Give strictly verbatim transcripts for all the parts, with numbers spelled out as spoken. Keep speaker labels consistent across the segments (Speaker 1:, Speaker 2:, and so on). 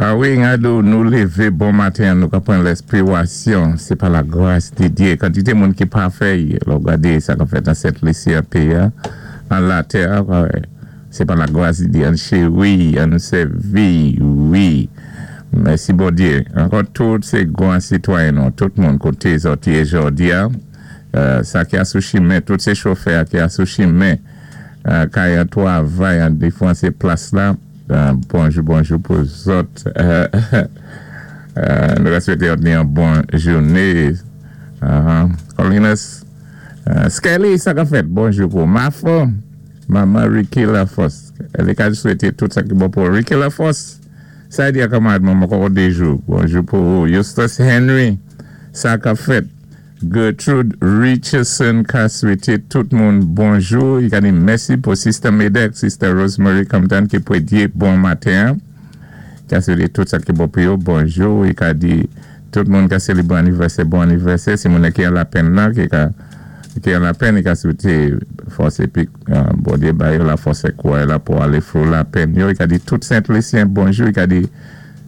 Speaker 1: Ah wi, gado, nou lévé bon maten, nou ka pran lèspirasyon, sé pa la gras di Dye. Kantité moun ki pa fè, lò gadé sa ka fèt an Sent Lisi an péyi, an latè, sé pa la gras di Dye, an chéri, an sèvi, wi. Mèsi bon Dye. Ankò tout sé gwan sitwayen nou, tout moun koté zòt yé jòdi a, sa ki a sou chimen, tout sé chofè ki a sou chimen, kay an twavay an diferan sé plas la, bonjou, bonjou pou zòt. Nou ka swété ni yon bon jouné. Colinas, Skelly, sa ka fèt, bonjou pou Mafo, Maman Ricky Lafosse. Li ka swété tout sa ki bon pou Ricky Lafosse. Sa di a kanmarad mwen mwen koko dejou. Bonjou pou Eustace Henry. Sa ka fèt. Gertrude Richardson ka swété tout moun bonjou. I ka di mèsi pou Sister Medek, Sister Rosemary Compton ki pwédyé bon maten. Ka swété tout sa ki bon pou yo. Bonjou. I ka di tout moun ka sélébwé anivèsè, bon anivèsè. Si moun ki an lapenn nan, ki ka ki an lapenn, i ka swété fòs épi bon Dye ba yo la fòs é kouray la pou alé through lapenn yo. I ka di tout Sent-Lisyen bonjou. I ka di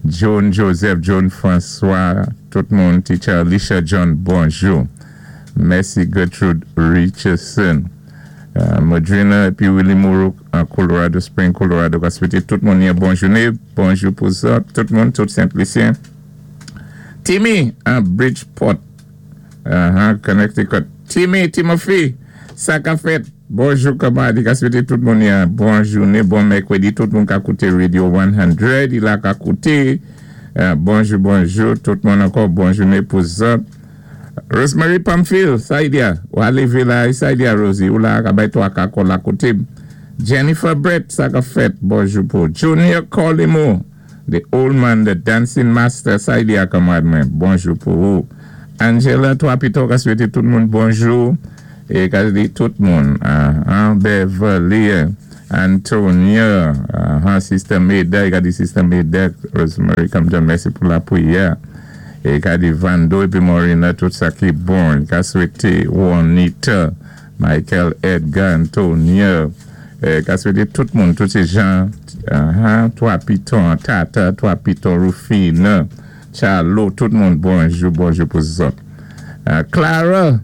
Speaker 1: John Joseph, John François, tout moun, Teacher Alicia John, bonjou. Mèsi Gertrude Richardson. Uh, Madrina épi Willie Moreau an Colorado Spring, Colorado, ka swété tout moun yon bon jouné. Bonjou pou zòt, tout moun, tout Sent-Lisyen. Timmy an Bridgeport, uh-huh, Connecticut. Timmy, Timothy, sa ka fèt. Bonjou kanmarad, i ka swété tout moun yon bon jouné, bon mèkwédi, tout moun ka kouté Radio san, i la ka kouté. Uh, bonjou, bonjou, tout moun ankò, bon jouné pou zòt. Rosemary Pamphile, sa i di a, ou a lévé la, sa i di a Rosie, ou la ka bay to a ka kon la kouté. Jennifer Brett, sa ka fèt, bonjou pou Junior Colimo, the old man, the dancing master, sa i di a kanmarad mwen, bonjou pou ou. Angela, twa pito ka swété tout moun bonjou, é ka di tout moun, uh, Beverly, Antonia, uh, Sister Meda, i ka di Sister Meda, Rosemary Compton, mèsi pou la pwiyè. É ka di Vando épi Morina, tout sa ki bon, ka swété Juanita, Michael Edgar, Antonia, ka swété tout moun, tout sé jan, Twa Piton, Tata, Twa Piton, Rufina, Charlo, tout moun, bonjou, bonjou pou zòt. Clara,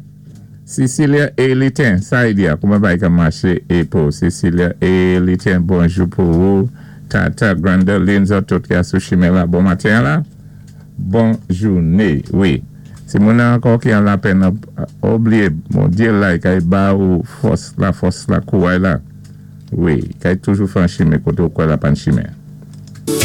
Speaker 1: Cecilia Elitin, sa i di a, kouman bay ka maché é pou Cecilia Elitin, bonjou pou ou, Tata, Granda, Linza, tout ki a sou chimen la, bon maten la. Bon jouné, wi. Si moun ankò ki an lapenn, oubliyé, bon Dye la, kay ba ou fòs, la fòs la kouray la. Wi, kay toujou fè an chimen, koté ou kwè la pan chimen.